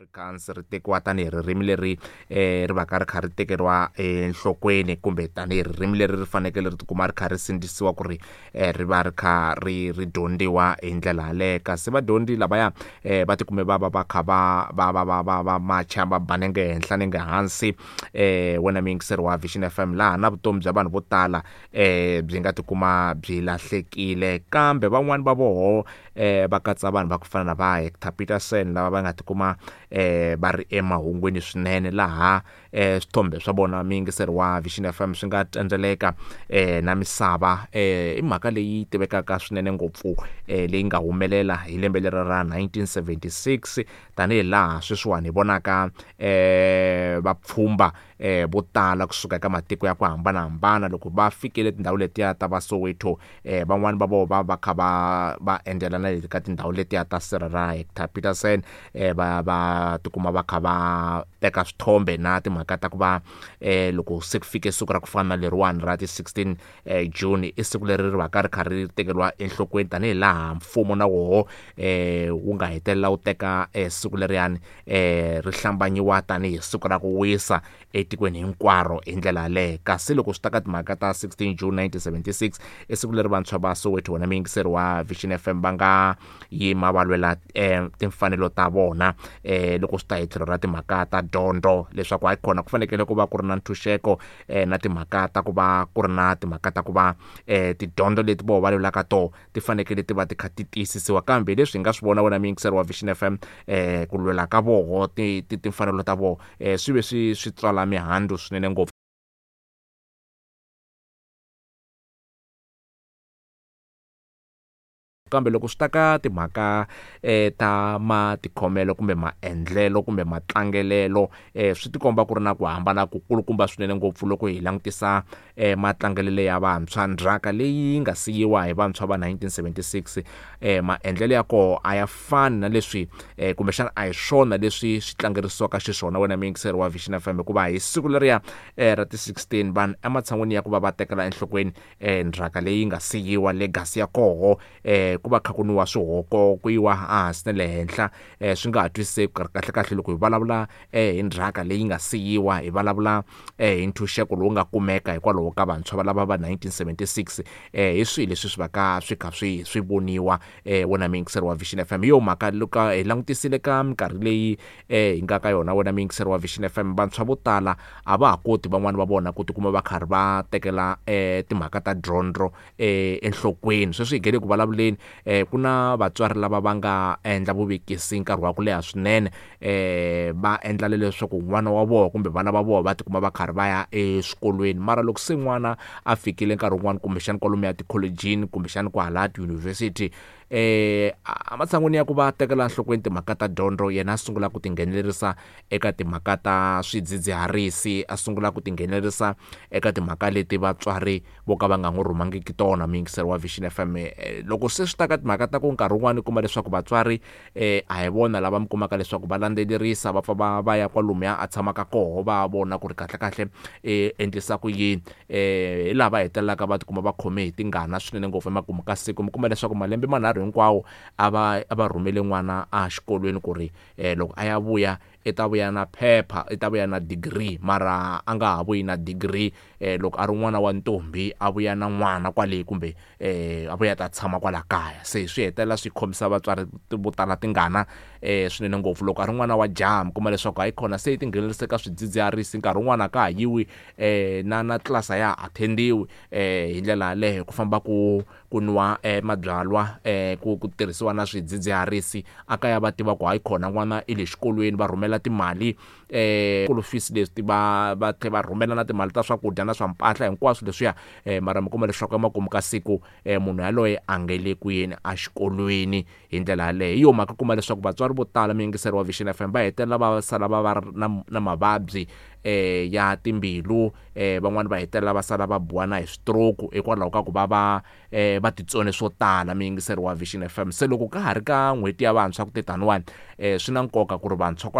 Afrikaans ri tekiwa tanihi ririmi leri ri va ka ri kha ri tekeriwa enhlokweni kumbe tanihi ririmi leri ri fanekele ri tikuma ri kha ri sindzisiwa ku ri ri va ri kha ri ri dyondziwa hi ndlela yaleyo. Kasi vadyondzi lavaya va tikume va va va kha va va va va va va macha va ba nenge henhla nenge hansi, wena muyingiseri wa Vision FM, laha na vutomi bya vanhu vo tala byi nga tikuma byi lahlekile. Kambe van'wani va voho va katsa vanhu va ku fana na va Hector Peterson, lava va nga tikuma va ri emahungwini swinene, laha swithombe swa vona muyingiseri wa Vision FM swi nga tsendzeleka na misava. I mhaka leyi tivekaka swinene ngopfu leyi nga humelela hi lembe leri ra 1976, tanihi laha sweswiwani hi vonaka vapfhumba vo tala kusuka eka matiko ya ku hambanahambana loko va fikile tindhawu letiya ta va Soweto, van'wani va vona va va kha va va endzela na le ka tindhawu letiya ta sirha ra Hector Peterson, va va tikuma va kha va teka swithombe na timhaka ta ku va loko se ku fike siku ra ku fana na leriwani ra ti 16 June, i siku leri ri va ka ri kha ri tekeriwa enhlokweni tanihi laha mfumo na woho wu nga hetelela wu teka siku leriyani ri hlambanyiwa tanihi siku ra ku wisa etikweni hinkwaro hi ndlela yaleyo. Kasi loko swi ta ka timhaka ta 16 June 1976, i siku leri vantshwa va Soweto, wena muyingiseri wa Vision FM, va nga yima va lwela timfanelo ta vona loko swi ta hi tlhelo ra timhaka ta dyondzo, leswaku hayi khona ku fanekele ku va ku ri na ntshunxeko na timhaka ta ku va ku ri na timhaka ta ku va tidyondzo leti voho va lwelaka toho ti fanekele ti va ti kha ti tiyisisiwa. Kambe leswi hi nga swi vona, wena muyingiseri wa Vision FM, ku lwela ka voho timfanelo ta voho swi ve swi swi tswala mihandzu swinene ngopfu. Kambe loko swi ta ka timhaka ta matikhomelo kumbe maendlelo kumbe matlangelelo, swi tikomba ku ri na ku hambana ku kulukumba swinene ngopfu loko hi langutisa matlangelelo ya vantshwa. Ndzhaka leyi nga siyiwa hi vantshwa va 1976, maendlelo ya koho a ya fani na leswi kumbexana a hi swona leswi swi tlangerisiwaka xiswona, wena muyingiseri wa Vision FM, hikuva hi siku leriya ra ti 16 vanhu ematshan'wini ya ku va va tekela enhlokweni ndzhaka leyi nga siyiwa, legacy ya koho, ku va kha ku nwiwa swihoko, ku yiwa ehansi na le henhla, swi nga ha twisiseki kahle kahle. Loko hi vulavula hi ndzhaka leyi nga siyiwa, hi vulavula hi ntshunxeko lowu nga kumeka hikwalaho ka vantshwa va lava va 1976, hi swihi leswi swi va ka swi kha swi swi voniwa, wena muyingiseri wa Vision FM? Hi yo mhaka loko hi langutisile ka minkarhi leyi hi nga ka yona, wena muyingiseri wa Vision FM, vantshwa vo tala a va ha koti van'wani va vona ku tikuma va karhi va tekela timhaka ta dyondzo enhlokweni. Sweswi hi nge le ku vulavuleni, ku na vatswari lava va nga endla vuvekisi nkarhi wa ku leha swinene, va endla leswaku n'wana wa vona kumbe vana va vona va tikuma va karhi va ya eswikolweni. Mara loko se n'wana a fikile nkarhi wun'wani kumbexana kwalomuya tikholejini kumbexana kwahala tiyunivhesiti, ematshan'wini ya ku va tekela enhlokweni timhaka ta dyondzo, yena a sungula ku tinghenelerisa eka timhaka ta swidzidziharisi, a sungula ku tinghenelerisa eka timhaka leti vatswari vo ka va nga n'wi rhumangiki tona, muyingiseri wa Vision FM. Loko se swi ta ka timhaka ta ku nkarhi wun'wani u kuma leswaku vatswari a hi vona lava mi kumaka leswaku va landzelerisa, va pfa va va ya kwalomuya a tshamaka koho va vona ku ri kahlekahle endlisa ku yini, hi laha va hetelelaka va tikuma va khome hi tingana swinene ngopfu. Emakumu ka siku mi kuma leswaku malembe manharhu hinkwawo a va a va rhumele n'wana exikolweni ku ri loko a ya vuya i ta vuya na phepha, i ta vuya na degree, mara a nga ha vuyi na degree. Loko a ri n'wana wa ntombi a vuya na n'wana kwale kumbe a vuya ta tshama kwala kaya, se swi hetelela swi khomisa vatswari vo tala tingana swinene ngopfu. Loko a ri n'wana wa jaha mi kuma leswaku hayi khona se yi tinghenelerisa ka swidzidziharisi, nkarhi wun'wani a ka ha yiwi na na tlilasi a ya ha attend-iwi, hi ndlela yaleyo ku famba ku ku nwa mabyalwa, ku ku tirhisiwa na swidzidziharisi. A kaya va tiva ku hayi khona n'wana i le xikolweni, va rhumela timali school fees leswi va va tlhela va rhumela na timali ta swakudya na swa mpahla hinkwaswo leswiya, mara mi kuma leswaku emakumu ka siku munhu yaloye a nge le ku yeni exikolweni hi ndlela yaleyo. Hi yo mhaka kuma leswaku vatswari vo tala, muyingiseri wa Vision FM, va hetelela va sala va va na na mavabyi ya timbilu, van'wani va hetelela va sala va biwa na hi stroke hikwalaho ka ku va va va titsone swo tala, muyingiseri wa Vision FM. Se loko ka ha ri ka n'hweti ya vantshwa ku te taniwani, swi na nkoka ku ri vantshwa